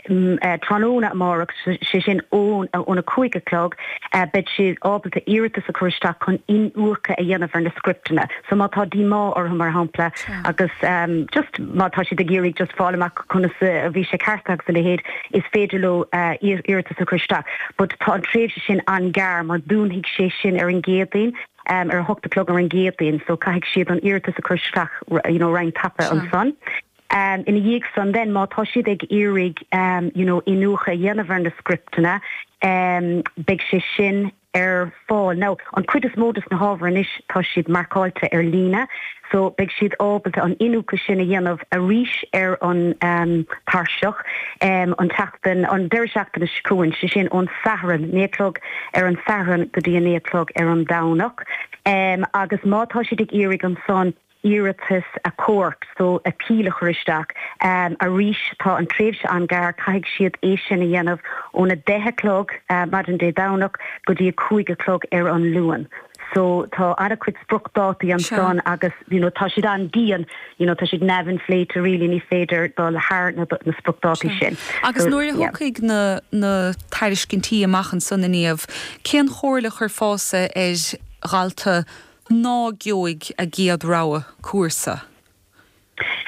Tráthnóna amárach, sé sin ón 5 a chlog, beidh siad ábalta iarratas a chur isteach chun iniúchadh a dhéanamh ar na scripteanna. So má tá díomá orthu, mar shampla, agus just má tá siad ag iarraidh just fáil amach conas a bhí sé ceartaithe agus a leithéid, is féidir leo iarratas a chur isteach. But tá an tréimhse sin an-ghearr mar dúnfaidh sé sin ar an gCéadaoin, ar a hocht a chlog ar an gCéadaoin, so caithfidh siad an iarratas a chur isteach you know roinnt tapa ansan. Ina dhiaidh san then má tá siad ag iarraidh you know iniúchadh a dhéanamh ar na scripteanna beidh sé sin ar fáil. Now an cuid is mó des na hábhair anois tá siad marcáilte ar líne so beidh siad ábalta an iniúchadh sin a dhéanamh arís ar an tairseach an tseachtain, an deireadh seachtaine seo chugainn, sé sin ón Satharn, 9 a chlog ar an Satharn go dtí a 9 a chlog ar an Domhnach. Agus má tá siad ag iarraidh ansan iarratas achomhairc, so appeal a chur isteach. Arís, tá an tréimhse an-ghearr, caithfidh siad é sin a dhéanamh óna 10 a chlog maidin Dé Domhnach go dtí a 5 a chlog ar an Luan. So tá an-chuid spriocdhátaí ansan agus you know tá siad an-dian, you know tá siad neamh-inphléite really, ní féidir dul thar na spriocdhátaí sin. Agus nuair a thiocfaidh na na tairiscintí amach ansan a Niamh, cén chomhairle a chuirfeása ar dhalta ná gheobhaidh a gcéad rogha cúrsa?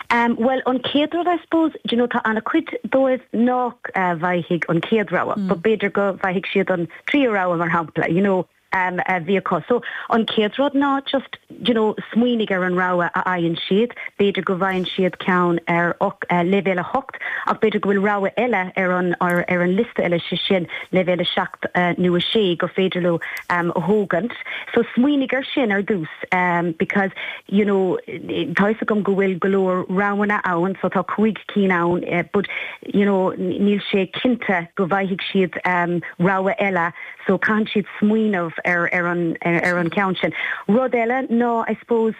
Bhuel, an chéad rud, I suppose, do you know, tá an-chuid dóibh nach bhfaighidh an chéad rogha, but b'fhéidir go bhfaighidh siad an tríú rogha, mar shampla, you know, a bhí acu. So, an chéad rud ná just, do you know, smaoinigh ar an rogha a fhaigheann siad. B'fhéidir go bhfaigheann siad ceann ar leibhéal 8 ach b'fhéidir go bhfuil rogha eile ar an, ar an liosta eile, sé sin leibhéal 7 nó 6 gur féidir leo a thógaint. So smaoinigh ar sin ar dtús because you know tá fhios agam go bhfuil go leor roghanna ann so tá 5 cinn ann but you know níl sé cinnte go bhfaighidh siad rogha eile so caitheann siad smaoineamh ar ar an ar an cheann sin. Rud eile ná I suppose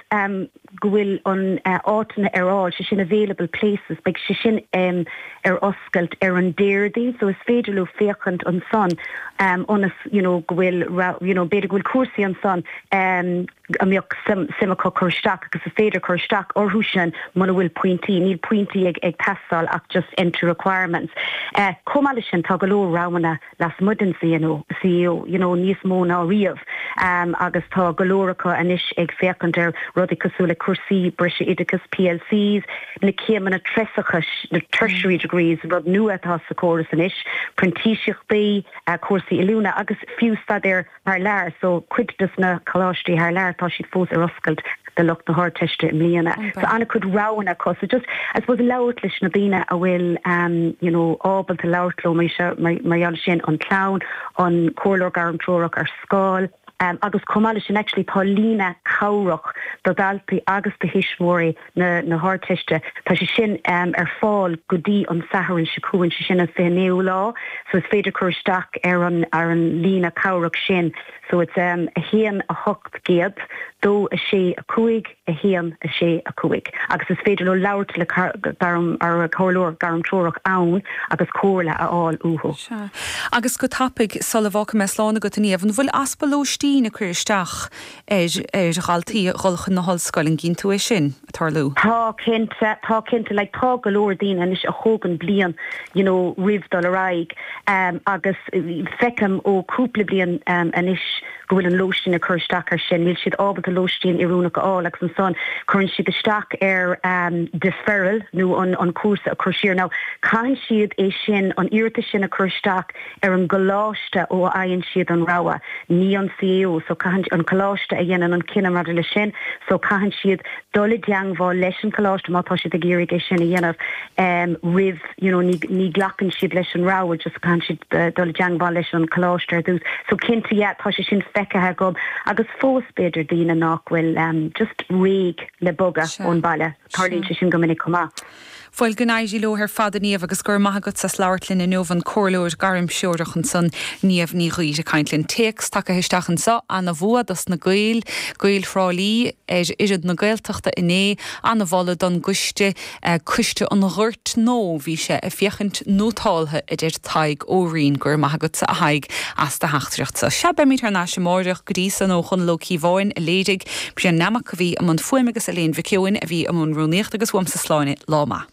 go bhfuil an áiteanna ar fháil, sé sin available places, beidh sé sin ar oscailt ar an Déardaoin so is féidir leo féachaint ansan ionas you know go bhfuil you know b'fhéidir go bhfuil cúrsaí ansan a mbeadh suim acu cur isteach agus is féidir cur isteach orthu sin muna bhfuil pointí, níl pointí ag ag teastáil ach just entry requirements. Chomh maith leis sin tá go leor roghanna lasmuigh den CNO, CAO, you know, níos mó ná riamh agus tá go leor acu anois ag féachaint ar rudaí cosúil le cúrsaí breise oideachais, PLCs, na céimeanna treasacha, na tertiary degrees, rud nua atá sa chóras anois, printíseachtaí, cúrsaí oiliúna agus fiú staidéar thar lear, so cuid des na coláistí thar lear tá siad fós ar oscailt do lucht na hArdteiste i mbliana. So an-chuid roghanna acu. So just, I suppose labhairt leis na daoine a bhfuil you know ábalta labhairt leo mar mar gheall sin, an clann, an comhairleoir gairmthreorach ar scoil, agus chomh maith leis sin actually tá líne cabhrach do dhaltaí agus do thuismitheoirí na na hArdteiste. Tá sé sin ar fáil go dtí an Satharn seo chugainn, sé sin an 29ú lá, so is féidir cur isteach ar an ar an líne cabhrach sin. So it's 1 800 2 6 5 1 6 5 agus is féidir leo labhairt le gairm ar comhairleoir gairmthreorach ann agus comhairle a fháil uathu. Sea. Agus go tapaidh, sula bhfágfaidh mé slán agat, a Niamh, an bhfuil easpa lóistín ag cur isteach ar ar dhaltaí a dhul chun na hollscoile, an gcíonn tú é sin ag tarlú? Tá, cinnte, tá cinnte, like tá go leor daoine anois a thógann bliain you know roimh dul ar aghaidh agus feicim ó cúpla bliain anois go bhfuil an lóistín ag cur isteach ar sin, níl siad ábalta lóistín oiriúnach a fháil agus ansan cuireann siad isteach ar deferral nó an an cúrsa a chur siar. Now caitheann siad é sin, an iarratas sin a chur isteach ar an gcoláiste ó a fhaigheann siad an rogha, ní an CAO, so caitheann, an coláiste a dhéanann an cinneadh maidir leis sin, so caitheann siad dul i dteangmháil leis an choláiste má tá siad ag iarraidh é sin a dhéanamh roimh, you know, ní, ní ghlacann siad leis an rogha, just caitheann siad dul i dteangmháil leis an choláiste ar dtús. So cinnte, yeah, tá sé sin feicthe agam agus fós b'fhéidir daoine nach bhfuil just réidh le bogadh ón baile, tarlaíonn sé sin go minic chomh maith. Bhuel, go n-éirí leo ar fad, a Niamh, agus go raibh maith agatsa as labhairt linn inniu, an comhairleoir gairmthreorach ansan, Niamh Ní Ghaoir, ag caint linn. Téacs tagtha isteach anso, Ana-bhua dos na Gaeil, Gaeil Thrá Lí ar fhoireann na Gaeltachta inné, ana-mholadh don gcoiste, Coiste an Ghoirt nó bhí sé ag féachaint nótáltha, a deir Tadhg Ó Rinn. Go raibh maith agatsa, a Thaidhg, as do theachtaireacht-sa. Sea, beimid thar n-ais amáireach, go dtí san, ó Chonall Ó Cíobháin a léirigh, Brian Nammock a bhí i mbun fuaime agus Elaine Mhic Eoin a bhí i mbun rúnaíochta agus uaimse Sláine, lá maith.